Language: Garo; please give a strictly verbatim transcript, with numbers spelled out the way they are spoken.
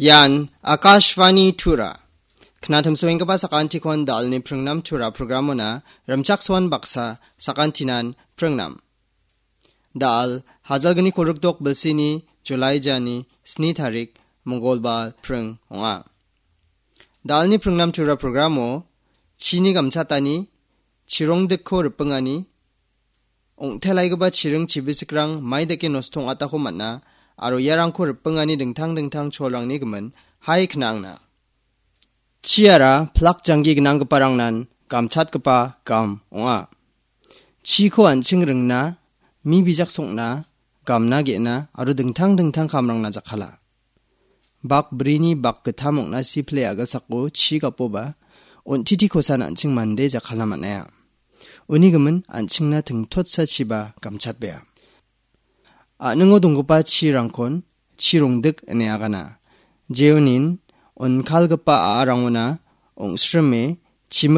Ian Akashvani Tura. Knatimsoenggipa sakantikon dalni pringnam Tura programona rimchaksoan baksa sakantinan pringnam. Dal hajalgni kolrikdok bilsini Julai jani sni tarik Mongolbar pring ong·a. Dalni pringnam Tura programo chini gamchatani, chirongdikko ripingani, ong·telaigipa chiring chibisikrang mai dake nosto ong·atako man·a, aro iarangko ripingani dingtang dingtang cholrangni gimin hai knangna. Chiara plak janggi gnanggiparangnan gamchatgipa gam ong·a. Chiko an·ching ringna, mi bijak song·na, gamna ge·na, aro dingtang dingtang kamrangna jakkala. Bak brini bak gittam ong·na sipile agilsako chi gapoba, on·titi kosan an·ching mande jakkala man·aia. Uni gimin an·chingna tingtotsa chiba gamchatbea. A·ningo donggipa chirangkon chirongdik ine agana. Jeonin onkalgipa a·arangona ong·srime chimik